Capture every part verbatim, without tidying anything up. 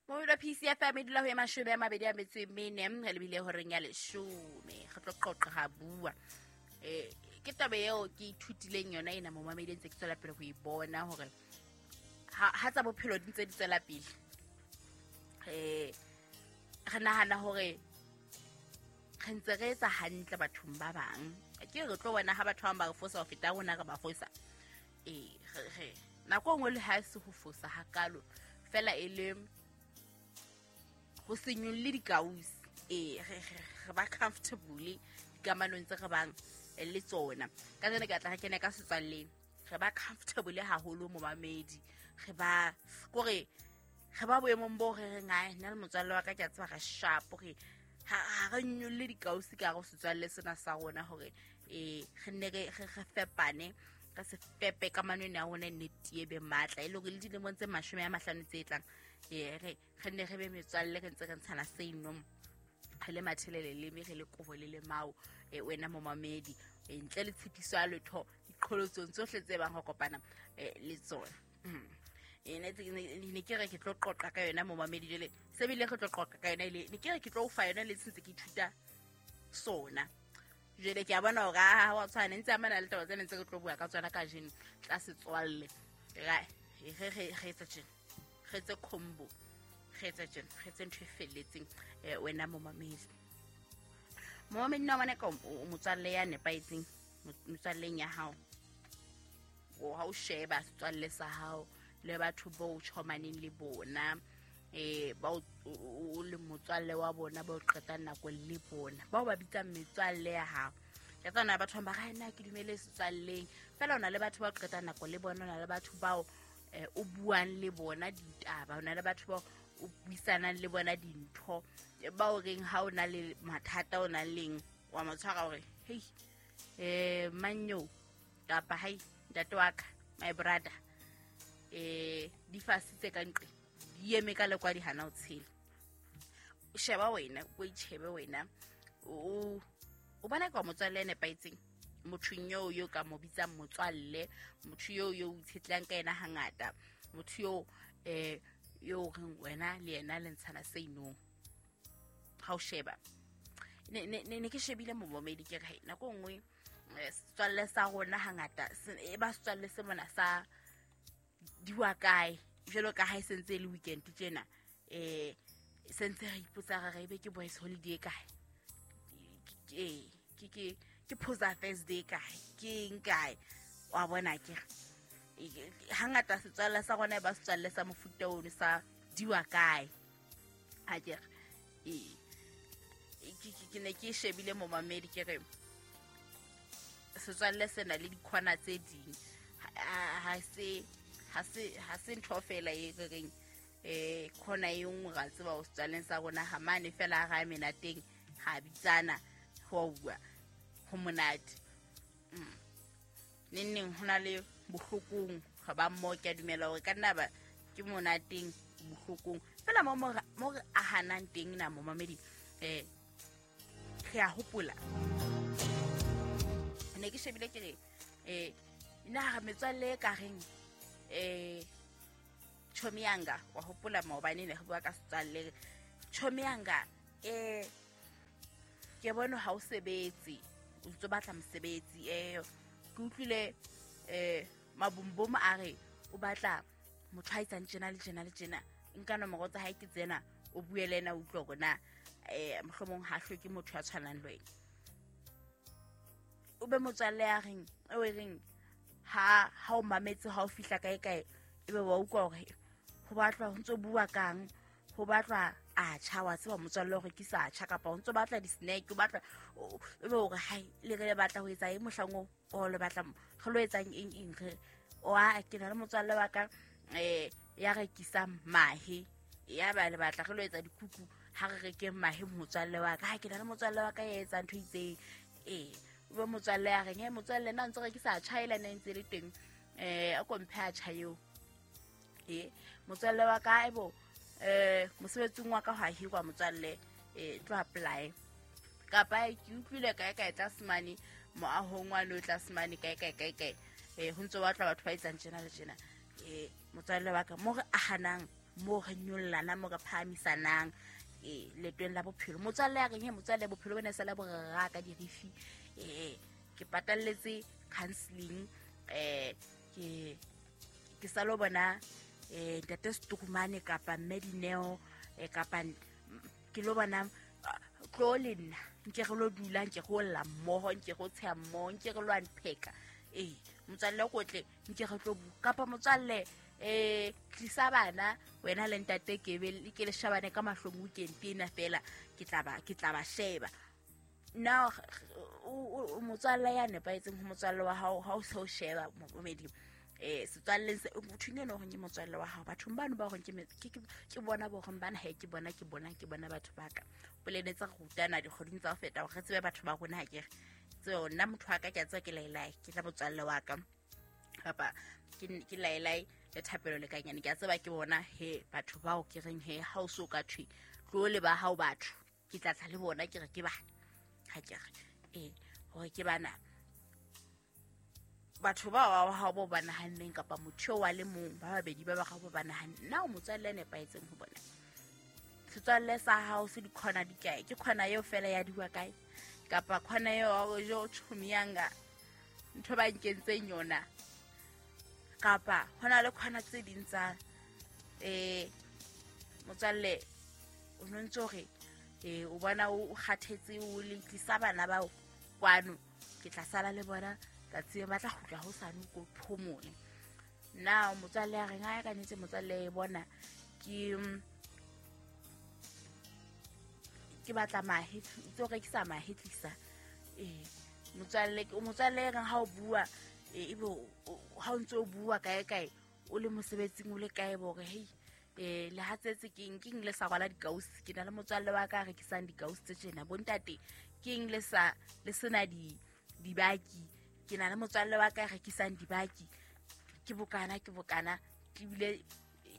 Mobile P C F M e dula ho e mashome a mabedi a metso e mene re lebile horeng ya leshome re tlo qoqa ha bua. Eh ke taba eo ke ithutileng yona ena momamedi ntse ke tswela pele ho e bona hore ha ha tsa bophelo di ntse di tswela pele. Eh re nahana hore re ntse re etsa hantle bathong ba bang. Ke re tlo bona ha batho ba bang ba re fosa ho feta rona re ba fosa. Eh re re nako e nngwe le ha e se ho fosa hakalo fela e le ho se nyolle dikausi. Eh re re ba comfortable dikamanong tse re bang le tsona. Ka tsena ke tla re kene ka setswalleng re ba comfortable haholo momamedi. Re ba kore re ba boemong bo re reng ai nna le motswalle wa ka ke a tseba re sharp re ha ha re nyolle dikausi ka re setswalle sena sa rona hore eh re nne re re fepane ka se fepe kamano ena ya rona ne tie be matla e le hore le dilemong tse mashome a mahlano tse tlang eh re re nne re be metswalle re ntse re ntshana seinong re le mathelele le me re le kobo le le mao e wena momamedi ntle le tshepiso ya letho diqholotsong tsohle tse bang ho kopana le tsona. E ne ne ke re ke tlo qoqa ka yona momamedi jele se bile re tlo qoqa ka yona ile ne ke re ke tlo fa yona le tshintse ke ithuta sona. Jele ke a bona hore ha wa tshwana ntse amana le taba tse ntse re tlo bua ka tsona kajeno tla setswalle. Re re re re etsa tjena re tse combo re etsa tjena re tse ntho e felletseng wena momamedi. Momamedi nna bana ka motswalle ya nepahetseng motswalleng ya hao o ha o sheba setswalle sa hao le batho bo tjhomaneng le bona eh ba o le motswalle wa bona ba o qeta nako le bona bao ba bitsang metswalle ya hao. Ke tsana batho ba ga nna ke dumele setswalleng fela ona le batho ba qeta nako le bona ona le batho bao o buang le bona ditaba ona le batho bao o buisanang le bona dintho ba o reng ha o na le mathata o na leng wa motshwara hore hey eh manyo kapa hai ntate wa ka my brother eh di fasitse ka nqe di eme ka le kwa di hana o tshela. O sheba wena o itshebe wena o o bona ka motswalle ene paitseng motho yo yo ka mo bitsang motswalle motho yo yo o itshetlang ka yena hangata motho yo eh yo reng wena le yena le ntshana seinong ha o sheba ne ne ne ke shebile momamedi ke re nako nngwe setswalle sa rona hangata e ba setswalle se mona sa diwa kae jalo ka ha e sentse le weekend tjena eh sentse re ipotsa re ebe ke boys holiday kae ke ke ke ke phosa Thursday kae ke eng kae wa bona ke hangata setswalle sa rona ba setswalle sa mofuta ono sa diwa kae a ke eh ke ke ne ke shebile momamedi ke re setswalle sena le dikhona tse ding ha se ha se ha se ntho fela e re reng eh khona e nngwe ra tseba o setswalleng sa rona ha mane fela ga mena teng ha bitsana ho bua ho monate. Neng neng hona le bohlokong ga ba mmo ke a dumela hore ka nna ba ke monateng bohlokong fela mo mo re ahanang teng na momamedi eh re a hopola ne ke shebile ke re eh nna re metswalle ka reng eh Chomiyanga wa hopola maobane ne re bua ka setswalle Chomiyanga eh ke bona ha o sebetse o ntse batla mosebetsi eh ke utlwile eh mabumbum a re o batla motho a etsang tjena le tjena le tjena nka nomoro tsa hae ke tsena o bue le yena o utlwe hore na eh mohlomong ha hloke motho ya tshwanang le wena. O be motswalle ya reng o e reng ha ha o mametse ha o fihla kae kae ebe wa utlwa hore ho batlwa ho ntso bua kang ho batlwa a tjha wa tseba motswalle hore ke sa tjha kapa ho ntso batla di-snack o batla ebe hore hai le re le batla ho etsa eng mohlang o o le batla re lo etsang eng eng re wa ke na le motswalle wa ka eh ya rekisang mahe ya ba le batla re lo etsa dikuku ha re rekeng mahe motswalle wa ka ha ke na le motswalle wa ka ya etsang ntho itseng eh o be motswalle ya reng he motswalle nna ntse rekisa tjha ela ne ntse le teng eh a komphe a tjha eo eh motswalle wa ka ebo eh mosebetsing wa ka ha hirwa motswalle eh tlo apply kapa ke utlwile kae kae tlase mane moahong wa lo tlase mane kae kae kae kae eh ho ntso batla batho ba etsang tjena le tjena eh motswalle wa ka mo re ahanang Mo re nyollana mo re phahamisanang e letweng la bophelo. Motswalle ya reng he motswalle bophelo bona sala bo re raka dirifi eh ke patalletse counseling eh ke ke sa lo bona eh ntate Setukumane kapa mme Dineo eh kapa ke lo bona tlo le nna nke re lo dula nke go lla mmoho nke go tsheya mmoho nke re lo unpack eh motswalle o kotle nke re tlo bu kapa motswalle eh tlisa bana wena le ntate ke be ke le shabane ka mahlong weekend ena fela ke tla ba ke tla ba sheba. Now o motswalle ya nepahetseng ho motswalle wa hao ha o se o sheba momedi eh setswalleng se motho eno hore ke motswalle wa hao bathong bano ba hore ke ke bona bo hore bana ha ke bona ke bona ke bona batho ba ka polele tsa rutana dikgoding tsa ho feta hore re tsebe batho ba rona ha ke re tseo nna motho wa ka ke a tseba ke laelai ke tla motswalle wa ka kapa ke ke laelai le thapelo le kanyane ke a tseba ke bona he batho bao ke reng he ha o so ka thwe tlo le ba hao batho ke tla tla le bona ke re ke bana ha ke re eh hore ke bana batho ba ba hao bo ba nahanneng kapa motho wa le mong ba babedi ba ba ga bo ba nahanne na o motswalle nepahetseng ho bona. Setswalle sa hao se dikhona di kae ke khona eo fela ya diwa kae kapa khona eo jo tshomiyanga ntho ba nkentseng yona kapa hona le khona tse ding tsa eh motswalle o no ntse hore eh o bona o kgathetse o le tlisa bana bao kwano ke tla sala le bona tsatsi ba tla kgutla ho sane ko phomole. Na motswalle ya reng ha ka nnete motswalle e bona ke ke batla mahe tso rekisa mahe tlisa eh motswalle o motswalle e reng ha o bua e be ha o ntse o bua kae kae o le mosebetsing o le kae bo re hei eh le hatsetse keng keng le sa rwala dikausi ke na le motswalle wa ka rekisang dikausi tse tjena bontate keng le sa le sena di dibaki ke na le motswalle wa ka rekisang dibaki ke bokana ke bokana ke bile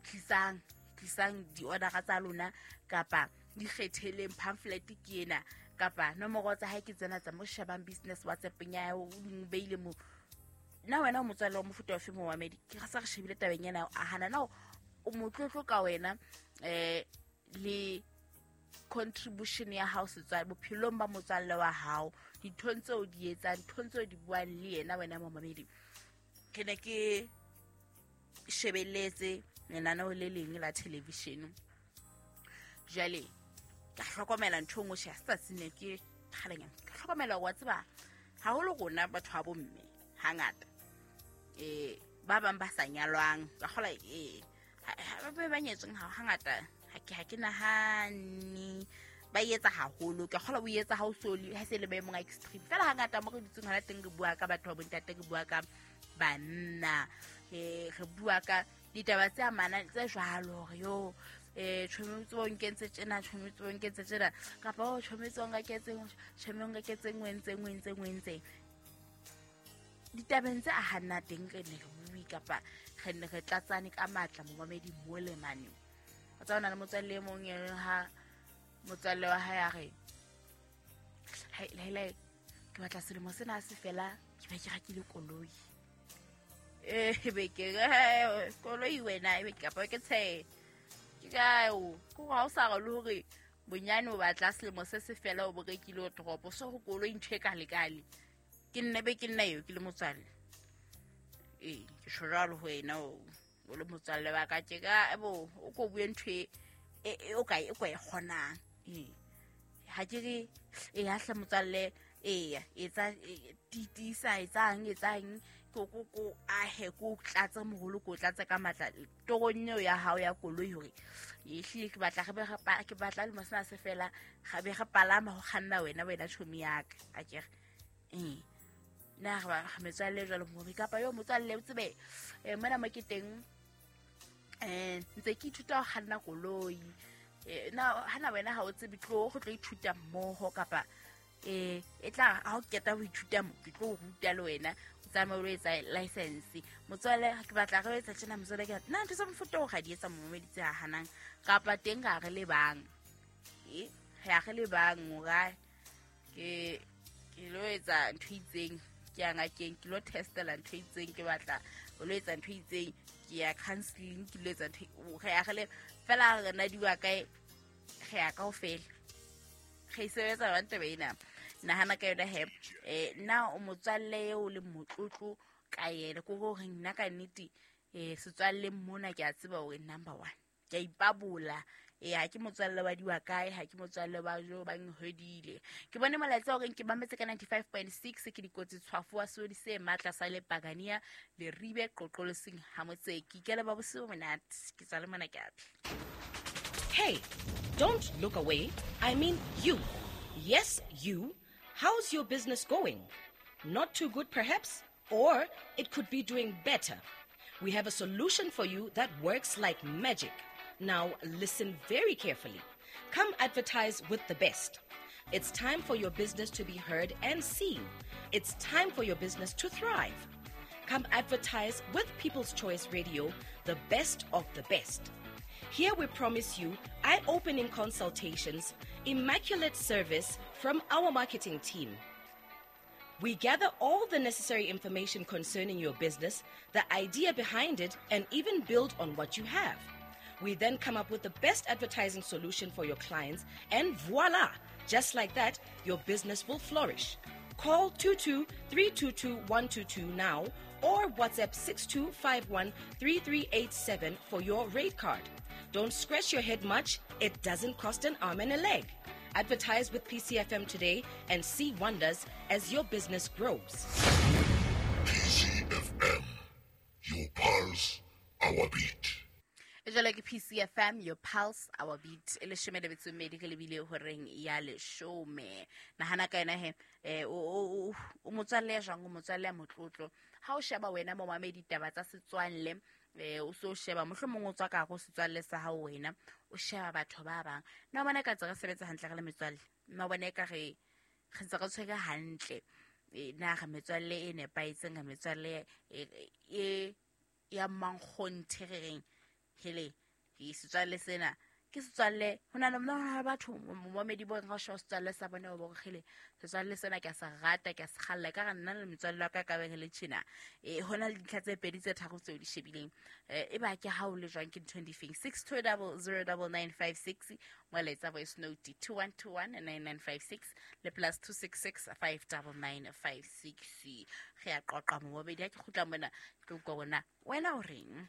tlisang tlisang di-order tsa lona kapa di kgetheleng pamphlet ke ena kapa nomoro tsa hae ke tsena tsa mo shebang business WhatsApp ya o di beile mo. Na wena o motswalle wa mofuta ofe mo wa medi ke sa re shebile tabeng ena a hana na o motlotlo ka wena eh le contribution ya hao setswalle bophelong ba motswalle wa hao dinthong tseo di etsang nthong tseo di buang le yena wena momamedi. Ke ne ke shebeletse lenaneo le leng la television jwale ka hlokomela ntho engwe she sa tsine ke kgalenyana ka hlokomela wa tseba haholo rona batho ba bomme hangata eh ba bang ba sa nyalwang ka kgola eh ba ba ba nyetsweng ha hangata ha ke ha ke nahane ba etsa haholo ke kgola o etsa ha o soli ha se le maemong a extreme fela hangata mo re dutseng hona teng re bua ka batho ba bontate re bua ka banna eh re bua ka ditaba tse amanang tse jwalo hore yo eh tshometse o nkentse tjena tshometse o nkentse tjena kapa o tshometse o nketseng tshometse o nketseng wentseng wentseng wentseng ditabeng tse a hanna teng re ne re bue kapa re ne re tlatsane ka matla momamedi mo le mane. O tsa ona le motswalle e mong eng ha motswalle wa hae a re hai le ke batla selemo sena se fela ke ba ke rekile koloi eh be ke koloi wena e be kapa ke tshe ke kae o ko ha o sa re le hore bonyane o batla selemo se se fela o bo rekile o toropo so go koloi ntho e kalekale ke nne be ke nna eo ke le motswalle eh ke tjho jwalo ho wena o o le motswalle wa ka ke ka bo o ko bue ntho e o ka e ko e kgonang eh ha ke re e ha hle motswalle eya etsa titisa etsang etsang ko ko ko ahe ko tlatsa moholo ko tlatsa ka matla torong eo ya hao ya koloi hore e hlile ke batla re be ke batla le mosana se fela ga be re palama ho kganna wena wena chomi ya ka a ke re eh na re ba metswalle jwalo mo kapa yo motswalle o tsebe eh mona mo ke teng eh ntse ke ithuta ho kganna koloi eh na hana wena ha o tsebe tlo go tlo ithuta mmoho kapa eh e tla ha o keta ho ithuta mo ke tlo ruta le wena o tsamaye o etsa license motswalle ke batla re etsa tjena motswalle ke nna ntho tsa mofuta o ga di etsa momedi tse hanang kapa teng ga re le bang eh ga re le bang ora ke ke lo etsa ntho itseng ke ya ngakeng ke lo testela ntho itseng ke batla o lo etsa ntho itseng Ke ya counseling ke lo etsa ntho re ya re le fela re na diwa kae re ya kaofela re e sebetsa jwang taba ena. Nahana ka yona he, eh na o motswalle eo le motlotlo ka yena ko hore nna ka nnete eh setswalle mona ke a tseba hore number one ke a ipabola. Eh ha ke motswalle wa diwa kae, ha ke motswalle wa jo ba nhwedile. Ke bone molaetsa hore ke mametse ka ninety-five point six ke dikotsi tshwafo wa sodi se matla sa le Pagania le ribe qoqolosing ha motseki. Ke le ba bosibo monate ke tswa le mona ke atla. Hey, don't look away. I mean you. Yes, you. How's your business going? Not too good perhaps, or it could be doing better. We have a solution for you that works like magic. Now listen very carefully. Come advertise with the best. It's time for your business to be heard and seen. It's time for your business to thrive. Come advertise with People's Choice Radio, the best of the best. Here we promise you eye-opening consultations, immaculate service from our marketing team. We gather all the necessary information concerning your business, the idea behind it, and even build on what you have. We then come up with the best advertising solution for your clients, and voila! Just like that, your business will flourish. Call two two three two two one two two now or WhatsApp six two five one three three eight seven for your rate card. Don't scratch your head much. It doesn't cost an arm and a leg. Advertise with P C F M today and see wonders as your business grows. P C F M, your pulse, our beat. Jwale ke P C F M, your pulse, our beat. E leshome le metso e mmedi re lebile horeng ya leshome. Nahana ka yona he, eh, o, o, o, o motswalle ya jwang, o motswalle ya motlotlo. Ha o sheba wena momamedi ditaba tsa setswalle, eh, o so sheba mohlomong o tswa ka hare ho setswalle sa hao wena, o sheba batho ba bang. Nna o bona ka tse re sebetsa hantle re le metswalle? Nna o bona eka re, re ntse re tshwere hantle. Eh, na re metswalle e nepahetseng, re metswalle e, e, ya mankgonthe re reng? Hele, ke setswalle sena ke setswalle ho na le mona batho momamedi bo re sheba setswalle sa bona ba re hele setswalle sena ke a se rata, ke a se kgalla, ka re nna le metswalle wa ka ka be re le tjena. Eh, ho na le dintlha tse pedi tse tharo tseo di shebileng. Eh, e ba ke ha o le jwang ke nthong difeng? six two double zero double nine five six, molaetsa voice note two one two one nine nine five six le plus two six six five double nine five six. Re a qoqa momamedi ha ke kgutla mona ke utlwa hore na wena o reng.